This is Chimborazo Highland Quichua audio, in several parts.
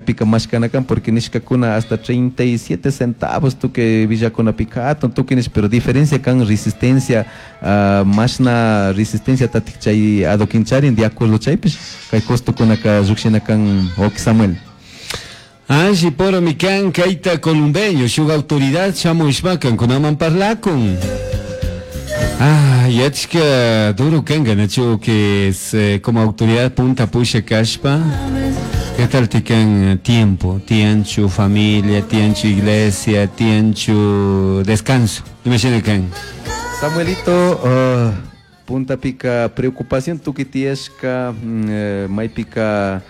Marketpika mashkana kan porque nishkakuna hasta 37 centavos tukuy villakunapika hatun tukuy nish, pero diferencia kan resistencia, mashna resistencia tatik chay adoquín charin, de acuerdo chaypish kay costokunaka llukshina kan, wawki Samuel. Alli poromi kan kayta columbeño shuk autoridad shamushpa kankunaman parlakun. Ah, yachka duro kanka nachu que es como autoridad punta pusha kashpa. ¿Qué tal tikan tiempo? Tianchu familia, tianchu iglesia, tianchu descanso. Imagina kan. Samuelito, puntapika preocupación tukuy tiyashka, maypika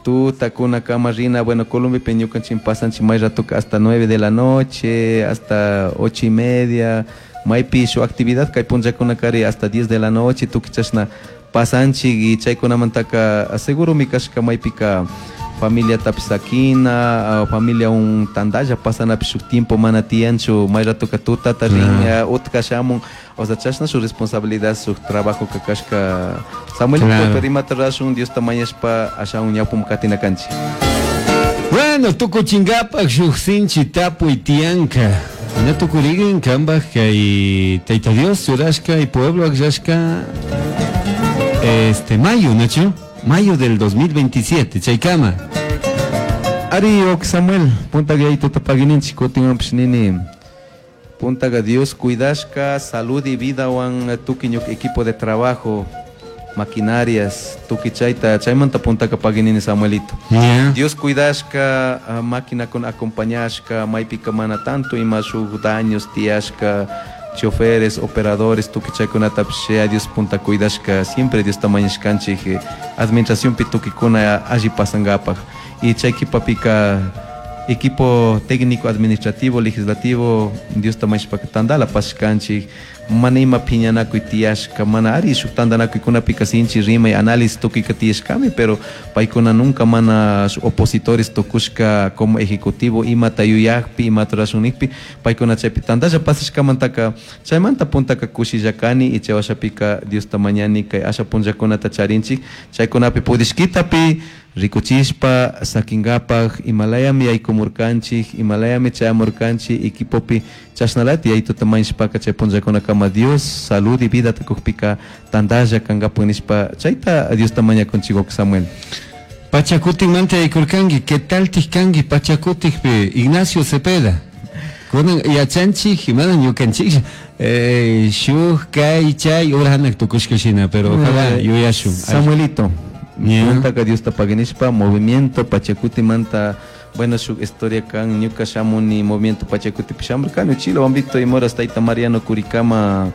tutakuna kama rina, bueno, Columbepi ñukanchik pasanchik may ratoka hasta 9 de la noche, hasta 8:30, maypi shuk actividad kay punllakunakari hasta 10 de la noche tukuy chashna pasanchik y chaykunamantaka seguro mi kashka maypika familiatapish sakina, familia un tandalla pasanapish shuk tiempo mana tiyanchu, may ratoka tutata rin, utka shamun, o sea, chashna su responsabilidad, su trabajo ka kashka. Samuel, pero imata rashun, Diosta mañashpa ashawan ñawpum katina kanchik. Bueno, tukuchinkapak shuk sinchi tapuy tiyanka. Ña tukurigin kanpak kay Tayta Dios churashka y pueblo akllashka, mayo, ¿nachu? Mayo del 2027, chaykama. Ari, ok, Samuel, puntaga yaytuta pagininchik, kutinwanpish nini. Puntaga Dios cuidashka, salud y vidawan tukuy ñuka equipo de trabajo, maquinarias, tukuy chayta, chaymanta puntaka paginini, Samuelito. Dios cuidashka, máquina con acompañashka, maypika mana tanto ima shuk daños tiyashka, choferes, operadores, tukuy chaykunatapish ya Dios punta cuidashka, siempre Dios mañashkanchik, administracionpi tukuykuna alli pasangapak. Y chay kipapika equipo técnico, administrativo, legislativo, Dios mañashpaka tandala pasashkanchik, mana ima piñanakuy tiyashka, mana ari shuk tantanakuykunapika sinchi rimay, análisis tukuyka tiyashkami, pero paykuna nunca mana opositores tukushka como ejecutivo, imata yuyakpi, imata rashun nikpi, paykuna chaypi tandalla pasashkamantaka, chaymanta puntaka kushilla kani, y chay washapika Diosta mañani kay asha punllakunata charinchik, chaykunapi pudishkitapi rikuchishpa sakingapak, imalayami yaykumurkanchik, imalayami chayamurkanchik, equipopi chashnalati yaytuta mañashpaka chay punllakunakama Dios salud y vida tukukpika tandalla kangapak nishpa chayta Diosta mañakunchik, Samuel. Pachakutikmanta yaykurkanki, ¿qué tal tikkanki Pachakutikpi Ignacio Cepeda? Kunan yachanchik, mana ñukanchik, shuk kay chay ura hanak tukushka shina, pero ojalá yuyashun. Samuelito, puntaka Diosta paginishpa, movimiento Pachakutimanta, bueno, shuk historia kan, ñuka shamuni movimiento Pachakuti shamurkani, Uchila, Wambito y Moras, Tayta Mariano Curicama,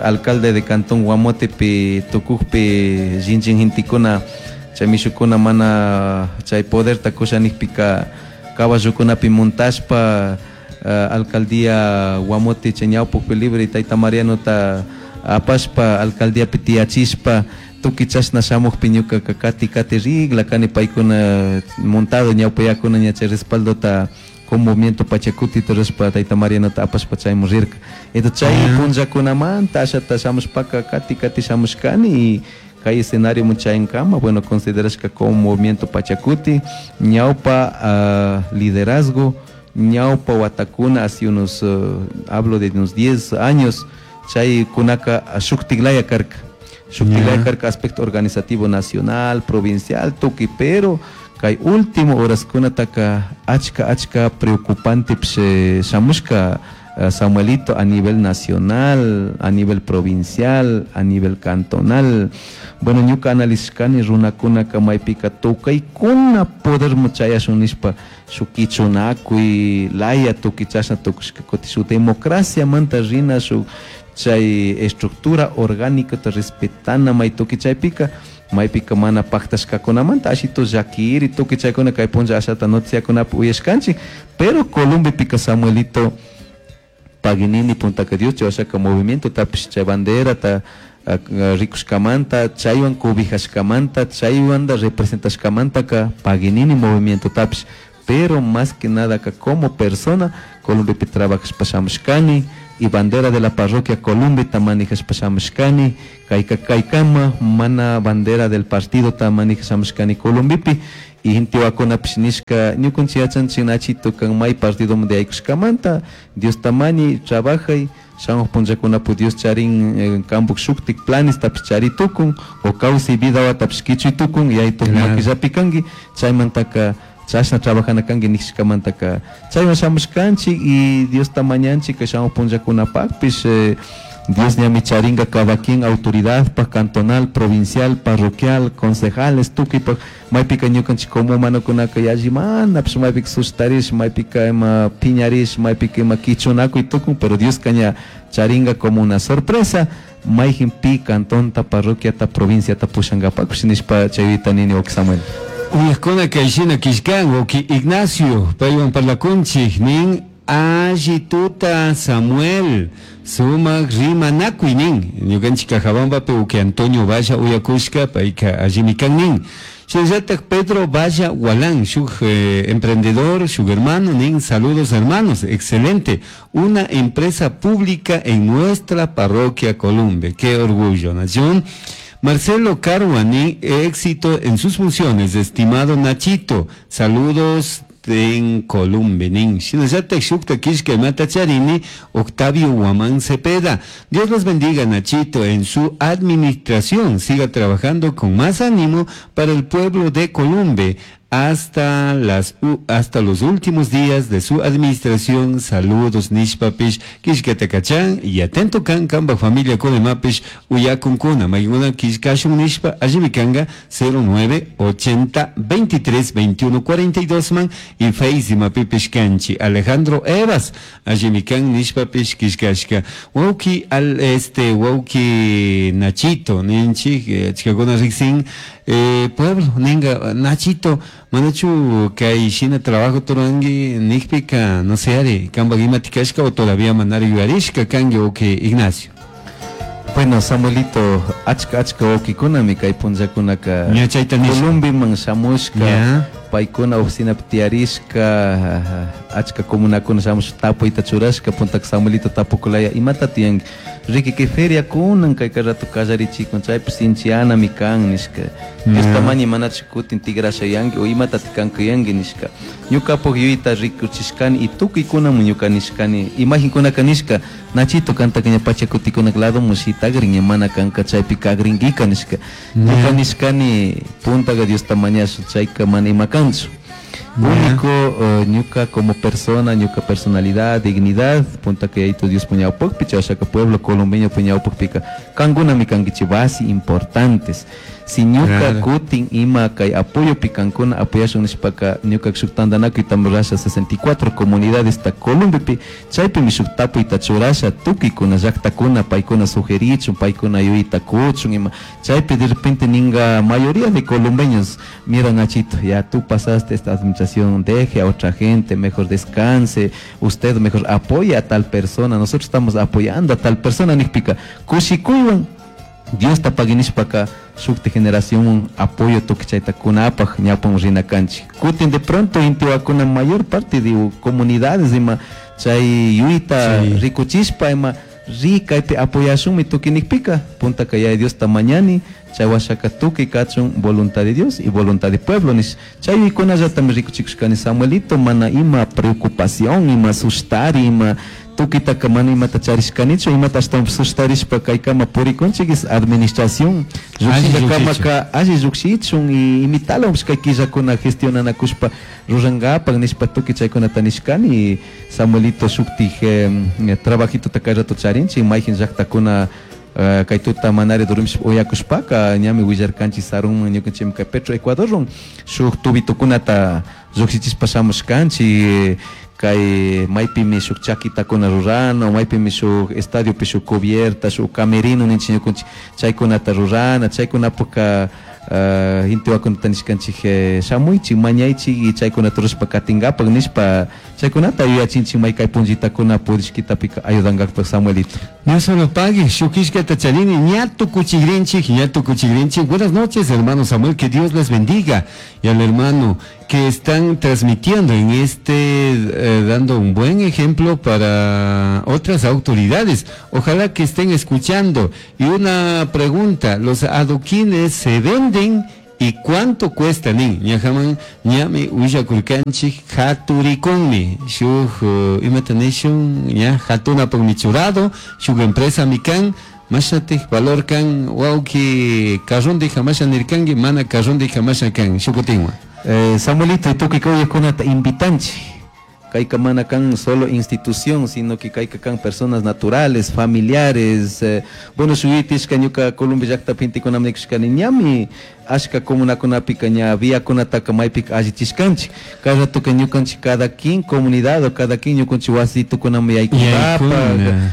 alcalde de Cantón Guamotepi, tukukpi, jinchin gentikuna, chay mishukuna mana chay poderta kushanikpika caballokunapi montashpa, alcaldía Guamote chay ñawpukpi libre Tayta Marianota apashpa alcaldíapi tiyachishpa tukuy chashna shamukpi ñukaka kati kati rigla kani paykuna montado ñawpayakuna ña chay respaldota con movimiento Pachacuti rishpa Tayta Marianota apashpa chaymun rirka. Entonces chay punllakunamanta ashata shamushpaka kati kati shamushkani y kay escenario muchayankama, bueno, considerashka como movimiento Pachacuti, ñawpa, liderazgo, ñawpa watakuna, hace unos, hablo de unos 10 años, chay kunaka shuktiklaya karka. Shuktiklaya karka aspecto organizativo nacional, provincial, tukuy, pero kay último horas kunataka achka, achka preocupante psh, shamushka, Samuelito, a nivel nacional, a nivel provincial, a nivel cantonal. Bueno, ñuka análisis kani runakunaka maypika tukaykuna poder muchayashun nishpa shuk kichunakuy laya tukuy chashna tukushka kuti shuk democracia manta rina shuk chay estructura orgánica ta respetana may tukuy chaypika maypika mana paktashkakunamanta ashito llakiri tukuy chaykuna kay punlla ashata noticiakunapi uyashkanchik, pero Columbepika Samuelito paginini puntaka Dios chay washaka movimiento tapish chay bandera ta rikushkamanta chaywan cobijashkamanta chaywanda representashkamantaka paginini movimiento tapish, pero más que nada ka como persona Columbepi trabajashpa shamushkani y bandera de la parroquia Columbe ta manejashpa shamushkani, kayka kaykama mana bandera del partido ta manejashpa shamushkani Columbepi. Y intiwakunapish nishka ñukanchik yachanchik Nachito kan may partidomanta yaykushkamanta Diosta mañay trabajay shamuj punllakunapi Dios charin kanpuk shuktik planestapish chari tukun o kawsay vidawatapish kichuy tukun yaytuk makillapi kanki chaymantaka chashna trabajana kanki nishkamantaka chaywan shamushkanchik y Diosta mañanchik shamuj punllakunapakpish Dios ñami charinga cada quien autoridad pa cantonal, provincial, parroquial, concejales, tukuypak maypika ñukanchik como humanokunaka yallimanapish maypika sustarish, maypika ima piñarish, maypika ima kichunakuy tukun, pero Dioska ña charinga como una sorpresa mayjin pi cantonta, parroquiata, provinciata pushankapakpish nishpa chayta nini wawki Samuel. Uyajkuna kayshina killkan wawki Ignacio paywan parlakunchik nin alli tuta Samuel sumak rimanakuy nin ñukanchik Cajabambapi wawki Antonio Valla uyakushka payka allimi kan nin. Shinallatak Pedro Valla Gualán, shuk emprendedor, shuk hermano nin, saludos hermanos, excelente, una empresa pública en nuestra parroquia Columbe, qué orgullo, nación. Marcelo Carhuani, éxito en sus funciones, estimado Nachito, saludos en Columbe nin. Shinallatak shukta killka imata charini, Octavio Guamán Cepeda. Dios los bendiga, Nachito, en su administración. Siga trabajando con más ánimo para el pueblo de Columbe hasta los últimos días de su administración. Saludos, nishpapish, killkatacachán, y atento kan, kamba familia konemapish, uyakunkuna, mayguna killkashun nishpa, allimi kanga, 09 80 23 21 42 man, y Face mapipish kanchi, Alejandro Evas, allimi kan nishpapish killkashka. Wauki al este, wauki Nachito, ninchi, chikakuna riksin, pueblo, ninga, Nachito, manachu kay shina trabajo turangi nikpika, no sé, ari, kamba imatikashka o todavía manari yuyarishka kangi wawki Ignacio. Bueno, Samuelito, achka achka wawkikunami kay punllakunaka Ña chayta nishka. Columbiman shamushka, paykuna oficinapi tiyarishka, achka comunakuna shamushka tapuyta churashka, puntaka Samuelito tapukulaya imata tiyanki, riki kay feria kunan kay rato kallarichikun, chaypi sinchianami kan nishka. Diosta mañay manachu kutin tigrasha yanki o imata tikankuyanki nishka. Ñukapuk yuyta rikuchishkani y tukuykunamun ñuka nishkani, imaginkunaka nishka, Nachito kantaka ña pachakutikunak ladomun shitagrin ña mana kanka chaypi kagrinkika nishka. Ñuka nishkani puntaka Diosta mañashu chayka mana ima kanchu. Único, ñuka como persona, ñuka personalidad, dignidad, puntaka yaytu Dios puñawpakpi, chayashaka pueblo colombeño puñawpakpika, kankunami kankichik base importantes. Si ñuka kutin ima kay apoyopi kankuna apoyashun nishpaka, ñuka shuk tantanakuyta rurasha 64 comunidades ta Columbipi, chaypimi shuk tapuyta churasha tukuykuna llaktakuna paykuna sugerichun, paykuna yuyta kuchun ima, chaypi de repente ninga mayoría de colombeños, mira Nachito, ya tú pasaste esta administración, deje a otra gente, mejor descanse, usted mejor apoya a tal persona, nosotros estamos apoyando a tal persona, nikpika, kushikuywan Diosta paginishpaka shukti generación apoyo tukichayta kunapaj ñapan rina kanchik. Kutin de pronto intiwakuna mayor parte de comunidades ima chay yuyta rikuchishpa ima rikaypi apoyashunmi tukinikpika puntaka yaya Diosta mañani chay washaka tukuy kachun voluntad de Dios y voluntad de pueblo nish. Chay yuykunallatami rikuchikushkani Samuelito, mana ima preocupación ima sustari ima tukitaka mana imata charishkanichu, imata ashtawan sustarishpa kaykama purikunchik es administración llukshinkakamaka alli llukshichun y imitalawanpish kay killakuna gestionanakushpa rurankapak nishpa tukuy chaykunata nishkani. Samuelito shuktik trabajitota kay rato charinchik mayjin llaktakuna kay tuta manari durmishpa uyakushpaka ñami willarkanchik sarunman ñukanchikmi kay Petro Ecuadorwan shuk tubitukunata llukshichishpa shamushkanchik kay maypimi shuk chaquitakuna rurana, maypimi shuk estadiopi shuk cubierta, shuk camerino ninchik ñukanchik chaykunata rurana, chaykunapukka intiwakunata nishkanchik shamuychik, mañaychik y chaykunata rurashpa katinkapak nishpa chaykunata yuyachinchik may kay punllitakuna purishkitapika ayudankakpak Samuelito. No solo pague, shukishkata charini, ñato kuchigrinchik, ñato kuchigrinchik. Buenas noches, hermano Samuel, que Dios les bendiga. Y al hermano que están transmitiendo en este, dando un buen ejemplo para otras autoridades. Ojalá que estén escuchando. Y una pregunta, ¿los adoquines se venden Y cuánto cuesta nin? Ñajaman ñami willakurkanchik haturikunmi shuk imata nishun ña hatunapakmi churado shuk empresami kan mashnatik valor kan wawki carrondija masha nirkanki mana carrondija masha kan shukutinwan. Samuelito y tukuy kawaykunata invitanchik. Kayka mana kan solo institución, sino que kayka kan personas naturales, familiares. Bueno, shuyutishka ñuka Colombia llaktapi intikunami nikushkani ñami ashka comunakunapika ña viakunataka maypika allichishkanchik. Kay ratoka ñukanchik cada quien comunidad o cada quien ñukanchik wasitukunami yaykunkapak,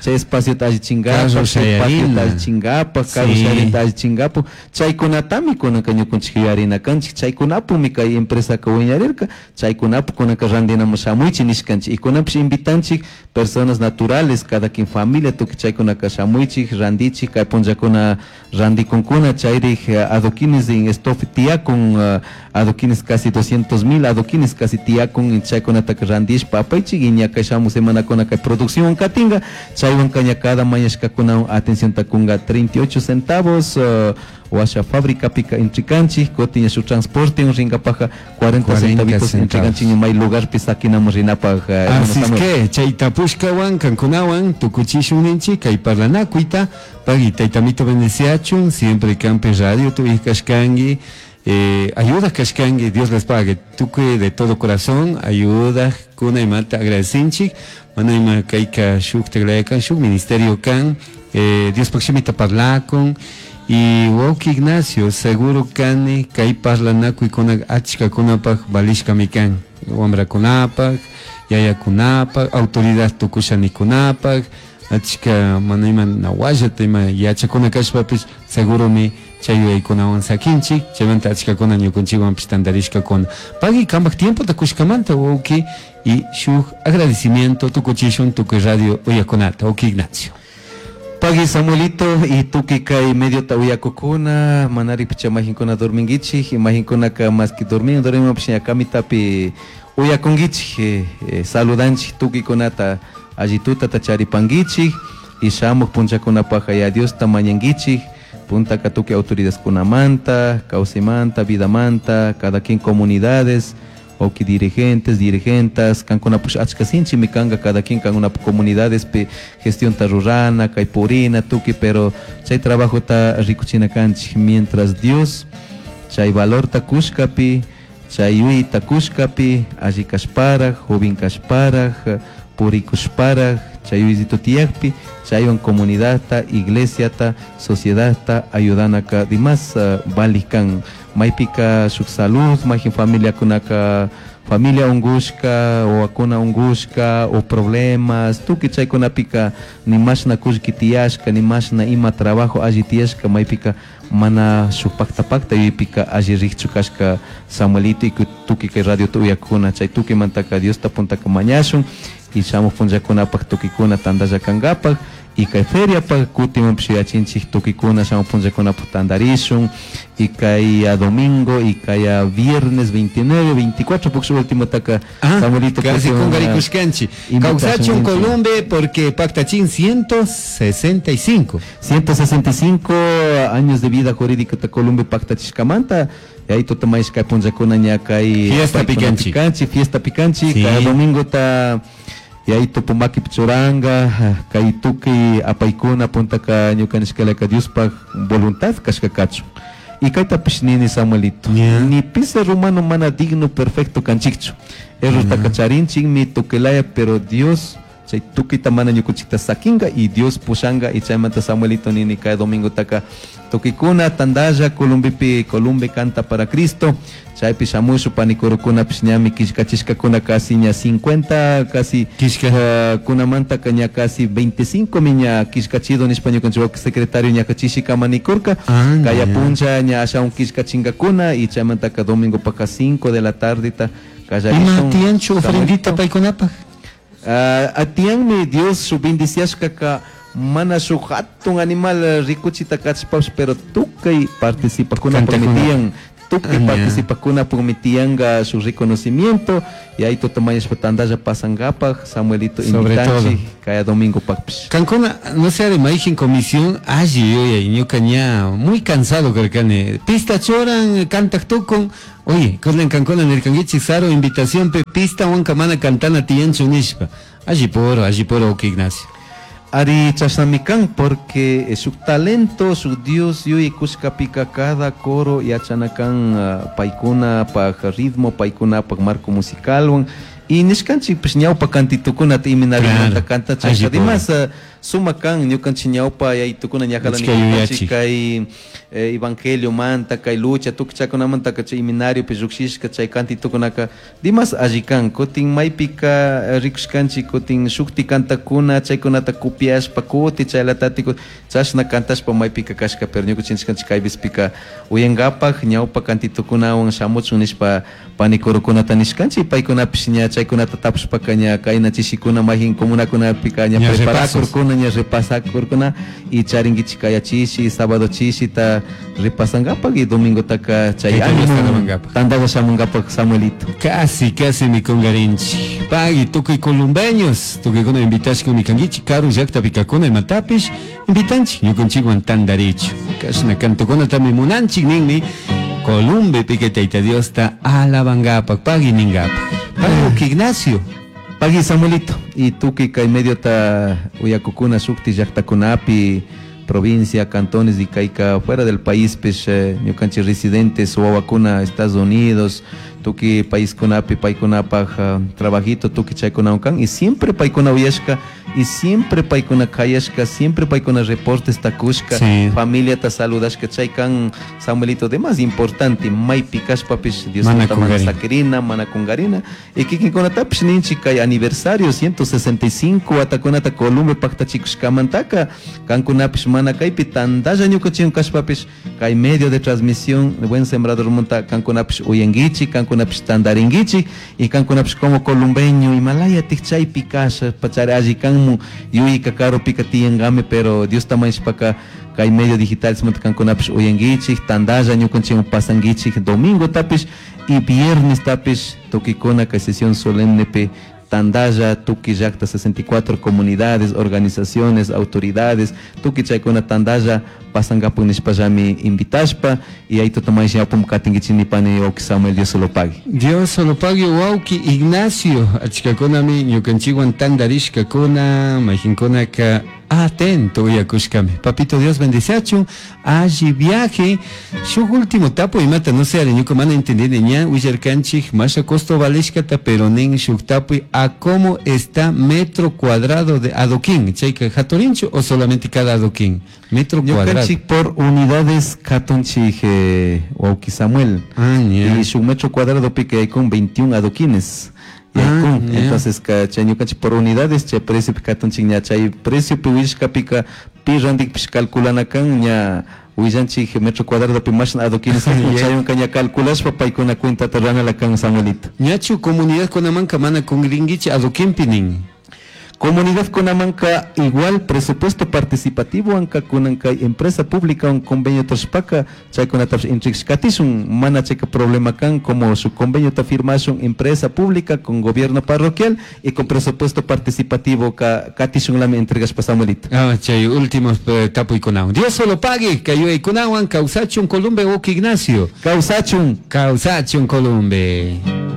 chay espaciota allichinkapak, chay patiota allichinkapak, carro shayarinta allichinkapak, chaykunatami kunanka ñukanchik yuyarina kanchik, chaykunapumi kay empresaka wiñarirka, chaykunapu kunanka randinamun shamuychik nishkanchik. Y kunanpish invitanchik personas naturales, cada quien familia, tukuy chaykunaka shamuychik, randichik, kay punllakuna randikunkuna, chayrik adoquines en estofi tiyakun, adoquines casi 200,000, adoquines casi tiyakun, chaykunataka randishpa apaychik, y ña kay shamu semanakuna kay producción katinka, chaywanka ña cada mañashkakunawan atención takunga 38 centavos, washa fábrica pica intricanchik, kutin ña shuk transporte rinkapaja 40 centavitos intricanchik, may lugar pi saquinamos rinapaj, Así es Samuel. que chaytapushkawan kankunawan tukuchishun ninchik kay parlanakuyta pagui taytamito bendeciachun siempre Campe Radio tu kashkangi, ayuda kashkangi, Dios les pague, tukuy de todo corazón ayuda kuna imata agradecinchik mana ima kayka shuk teglayakan shuk ministerio kan, Dios pakshimita parlakun. Y wawki Ignacio, seguro kani kay parlanakuy kuna achka kunapaj valishkami kan, wamrakunapaj, yayakunapaj, autoridad tukushanikunapaj, achka mana ima nawallata ima yachakuna kashpapis seguromi chay yuyaykunawan sakinchik, chaymanta achkakuna ñukanchikwanpish tantarishkakuna. Pagui kambaj tiempota kushkamanta wawki y shuk agradecimiento tukuchishun tukuy radio uyakunata, wawki Ignacio. Pagui Samuelito y tuki kay medio ta uyakukuna, manari picha majinkuna dormingichik, y majinkunaka más que dormin, dormimos picha kamitapi uyakungichik, saludanchik tukikunata allituta tacharipangichik, y shamuq punchakunapaja ya Dios ta mañangichik, puntaka tuki autoridades kunamanta, kawsaymanta, vidamanta, cada quien comunidades, oki dirigentes, dirigentas, kankuna push achka sinchi mi kanga cada quien kankuna comunidades pe gestión ta rurana, kay purina, tuki, pero chay trabajo ta rikuchina kanchik, mientras Dios chay valor ta kushkapi, chay yui ta kushkapi, alli kashparaj, joven kashparaj, purikushparaj, chay yuyito tiyakpi, chaywan comunidad ta, iglesia ta, sociedad ta, ayudanaka dimas, valikan. Maypika shuk salud, mayjin familia kunaka, familia ungushka, o akuna ungushka, o problemas, tuki chaykunapika ni mashna kullki tiyashka, ni mashna ima trabajo alli tiyashka, maypika mana shuk pakta pakta yuypika alli rikchu kashka Samuelito y tuki kay radio tuyakuna, chay tuki mantaka Diosta puntaka mañashun, y shamuq punllakunapaq tukikuna tantalla kankapaq, y kay feriapaq kutimanpish yachinchik tukikuna shamuq punllakunapaq tantarishun, y kay a domingo, y kay a viernes 29, 24, porque su último taka, Ah, Samuelito, casi porque con una Garicushkanchi. invitación Causachun en Columbe, porque Pactachín 165. 165 años de vida jurídica de Columbe Pactachishkamanta. Y ahí tú tomáis kay punllakuna ña kay Fiesta paykuna picanchi. picanchi, fiesta picanchi, Sí. cada domingo ta y ahí tupumaki pichuranga, kay tuki apaykuna puntaka ñukanishkalaka Diospaj voluntad kashkakachu. Y kayta pishnini Samuelito. Yeah. Ni pise rumano mana digno perfecto kanchikchu. Error takacharinchik mi tukelaya, pero Dios chay tukita mana ñukunchikta sakinga y Dios pushanga y chaymanta Samuelito nini kay domingo taka tukikuna tandalla Columbipi Columbe canta para Cristo chaypi shamushu panikurukuna pish ñami kishkachishkakuna casi ña 50 casi Kishka. kunamanta ka ña casi 25 miña kishkachido nishpa ñukanchik secretario ña kachishikama nikurka. Ah, Kaya ya. puncha ña ashaun kishkachingakuna y chaymantaka domingo paka 5 de la tarde ta kallarishun. Ima tiyanchu ofrendita Samuelito. paykunapaj? Ah, atiyanmi Dios su bendiciashkaka mana su hatun animal rikuchita kachpash, pero tukay participakuna Cantakuna. permitían. Tukuy participajkunapukmi tiyanka shuk reconocimiento y ahí tutamañashpa tantalla pasankapak Samuelito invitanchik kaya domingopakpish. Kankuna, no sé de mayjin comisión alli yuyay, ñuka ña muy cansado karkani. Pista churan, kantak tukun. Oye, kunan kankuna nirkankichik Saro invitacionpi pistawanka mana cantana tiyanchu nishpa. Alli poro, ok Ignacio. Ari chashnami kan porque shuk talento, shuk Dios yuyay kushkapika cada coro yachana kan paykunapaj ritmo, paykunapaj marco musicalwan. Y nishkanchik pues ñawpa cantitukunata iminarimanta cantachashka. Además suma kan ñukanchik ñawpa yaytukuna ñajalani Achka yuyachik. kay evangelio manta, kay lucha, tukuy chaykunamanta chay iminariopi llukshishka chay cantitukunaka dimas alli kan. Kutin maypika rikushkanchik kutin shukti kantakuna chaykunata copiashpa kuti chaylatati chashna kantashpa maypika kashka, pero ñukanchik nishkanchik kay vizpika uyankapak ñawpa cantitukunawan shamuchun nishpa panikurukunata nishkanchik, paykunapish ña chaykunata tapushpaka ña kayna chishikuna mayjin comunakunapika ña Ña preparakurkuna, ña repasakurkuna y charinkichik kaya chishi, sábado chishita repasankapak y domingotaka chay Tayta Diosta ánimo alabankapak. tantalla shamunkapak Samuelito. Casi, casi mi kungarinchik. Pagui, tukuy columbeños, tukuykuna invitashka mikankichik, karu llaktapi kakuna imatapish, invitanchik, ñukanchikwan tantarichu. Kashna kantukunatami munanchik ninmi, Columbe pique Tayta Diosta alabankapak, pagui ninkapak. Pagui Ignacio. Pagui Samuelito, y tukuy kay mediota uyakukuna shukti llaktakunapi, provincia, cantones y kayka fuera del país, pues, ñukanchik residentes, wawakuna, Estados Unidos, tukuy paiskunapi, paykunapaj, trabajito, tukuy chaykunawan kan, y siempre paykuna uyashka, y siempre paykuna kayashka, siempre paykuna reportes takushka, familiata saludashka, chay kan Samuelito, de más importante, maypi kashpapish, Dios Mana manta mana kungarina. saquirina, mana kungarina, y kikinkunatapish ninchik kay aniversario 165 watakunata Columbe paktachikushkamantaka, kankunapish mana kaypi tantalla ñukanchik kashpapish, kay medio de transmisión Buen Sembrador munta kankunapish uyankichik, kankunapish tantarinkichik, y kankunapish como columbeño, Himalaya tik chaypi kasha, pachari alli kanmu, yuyka karupika tiyankami, pero Dios tamañishpaka kay medio digital munta kankunapish uyankichik, tantalla ñukanchik pasankichik, domingo tapish y viernes tapish, tukikuna kay sesión solemne pe Tandaya, tuki llakta 64 comunidades, organizaciones, autoridades, tuki chaykuna Tandaya pasankapu nishpallami invitashpa y ahí totomaysh yapum katinkichini pani wawki Samuel, Dios solo pague. Dios solo pague, wawki Ignacio, achkakunami ñukanchikwan tandarishkakuna, mayjinkunaka atento uyakushkami. Papito Dios bendiceachun, alli viaje. Shuk último tapu imata no sé, ñuka mana entendini ña willarkanchik masha costo valishkata, pero nin shuk tapuy a cómo está metro cuadrado de adoquín, chayka haturinchu o solamente cada adoquín, metro Ñukanchik cuadrado. por unidades katunchik wawki Samuel. Ah, ña. Y shuk metro cuadrado pique hay con 21 adoquines. Y Ah, con, ya. entonces, ka, chay ñukanchik por unidades, chay precio katunchik ña, chay precio pi wishka pika, pi randik pish calculana kan, ña, willanchik metro cuadrado pi mashna adoquines, chay unka ña calculashpa paykuna cuenta terrana la kan Samuelito. Ñachu comunidad kunamanka mana kungrinkichik adoquinpi nin. Comunidad Kunamanca igual presupuesto participativo anca kunanka empresa pública un convenio toshpaka chaykunatapish intrikshkatishun mana chayka problema kan como su convenio ta firmashun empresa pública con gobierno parroquial y con presupuesto participativo ka katishun lami entregashpa Samuelito. Ah, chay últimos tapuykunawan. Dios solo pague kayuy kunawan kawsachun Columbe Uki Ignacio. Kawsachun. Kawsachun Columbe.